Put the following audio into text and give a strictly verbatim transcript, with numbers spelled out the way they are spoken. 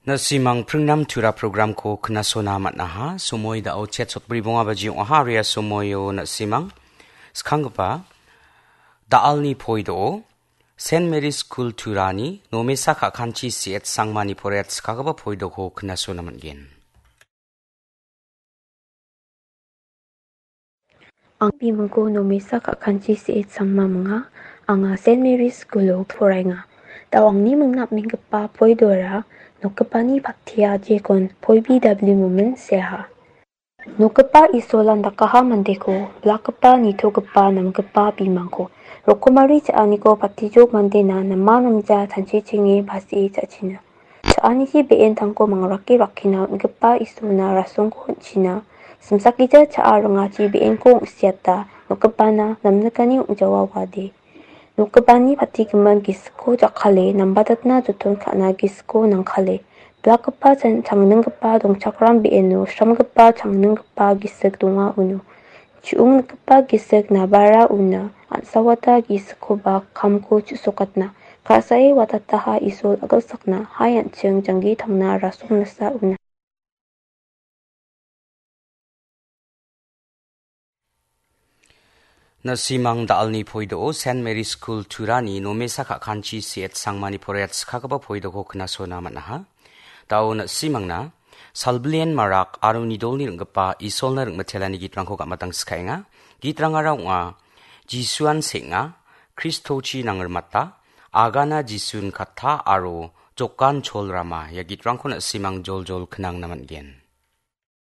Na·simang pringnam tura programko knasona man·aha. Somoi da·o chet sotbri bonga baji ong·aha. Aria somoio na·simang skanggipa da·alni poido Saint Mary's School Turani nomesa ka·kanchi C H Sangmani poraiat skanggipa poidoko knasona man·gen. Ang bimingko nomesa ka·kanchi C H Sangma minga. Anga Saint Mary's School-o poraenga. Da·o angni mingna am·enggipa poidora nokgipani pattia jekon poibi dabli momen seaha. Nokgipa Isolan dakaha mandeko, blakgipa, nitogipa, namgipa bimangko, rokomari cha·aniko patijok mandena nama namja tanchichenge basie cha·china. Cha·aniji be·entangko mangrake rakkina on·gipa Isolna rasongko on·china. Simsakgija cha·a ringachi be·enko ong·siata, nokgipana namnikani ong·jawa wade. Nokgipani patigimin gisikko jakkale, nambatatna joton ka·na gisikko nangkale. Blakgipa chan-, changninggipa dongchakram be·eno sramgipa changninggipa gisik donga uno. Chu·onggipa gisik nabara una, an·sawata gisikkoba kamko chu·sokatna. Ka·sae watataha Isol a·gilsakna, hai an·ching janggi tangna rasong nasa una. Na·simang da·alni poido Saint Mary's School Turani nomesa ka·kanchi C H Sangmani poraiat skanggipa poidoko knasona man·aha. Da·o na·simangna Salbilien Marak aro Nidolni ring·gipa Isolna ring·mitelani gitrangko gamatang skaenga. Gitrangara ong·a, Jisuan seng·a, Kristochi nangrimata, Agana Jisun kata aro Jokan cholrama. Ia gitrangko na·simang joljol knangna man·gen.